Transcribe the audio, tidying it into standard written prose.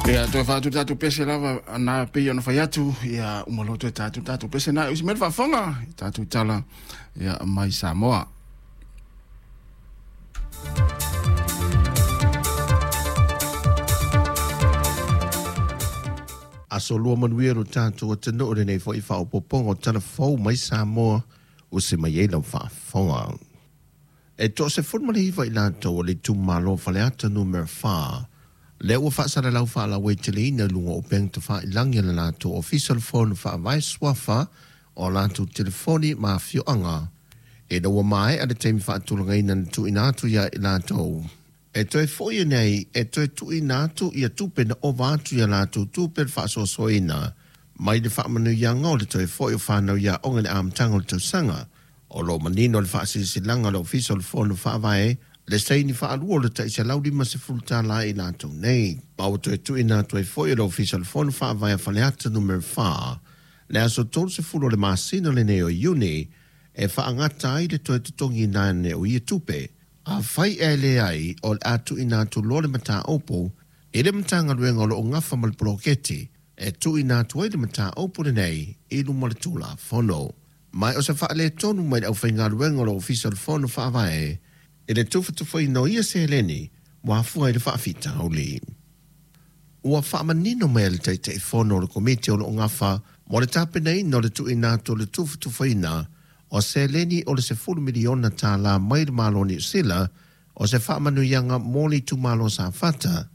Ia, toe fa'atu tatou pese lava na pei ona fai atu, ia uma loa toe tatou tatou pese na e usi mai le faafofoga i tatou tala ia mai Samoa. Aso lua manuia lo tatou atunuu lenei foi faaopoopoga o tala fou mai Samoa usi mai ai lau faafofoga. E 19 i latou o le itumalo o Faleata Numera 4, lea ua faasalalau faalauaiteleina i luga o upega tafailagi a le latou Ofisa o le Fono Faavae Suafa o latou telefoni ma afioaga ina ua maea le taimi faatulagaina na tuuina atu ia i latou. E toe foi ane ai e toe tuuina atu ia tupe na ova atu i a latou tupe le faasoasoaina mai le faamanuiaga o le toe foi o fanau i aoga i le amataga o le tausaga. O lo o manino le faasilasilaga a le Ofisa o le Fono Faavae le saini faalua o le tai $150 i latou nei. Ma ua toe tuuina atu ai foi e le Ofisa o le Fono Faavae a Faleata Numera 4 le aso 30 o le masina lenei o Iuni e faagata ai le toe totogiina ane o ia tupe. Afai ae leai, o le a tuuina atu loa le mataupu i le Matagaluega o lo o gafa ma le poloketi e tuuina atu ai le mataupu lenei i luma o le Tulafono. Ma o se faaletonu mai le aufaigaluega o le Ofisa o le Fono Faavae i le tufatufaina o ia seleni ua afua i le faafitauli. Ua faamanino mai e le Taitaifono o le Komiti o lo o gafa mo le tapenaina o le tuuina atu o le tufatufaina o seleni o le $10 miliona mai le Malo o Niu Sila o se faamanuiaga mo le itumalo o Safata.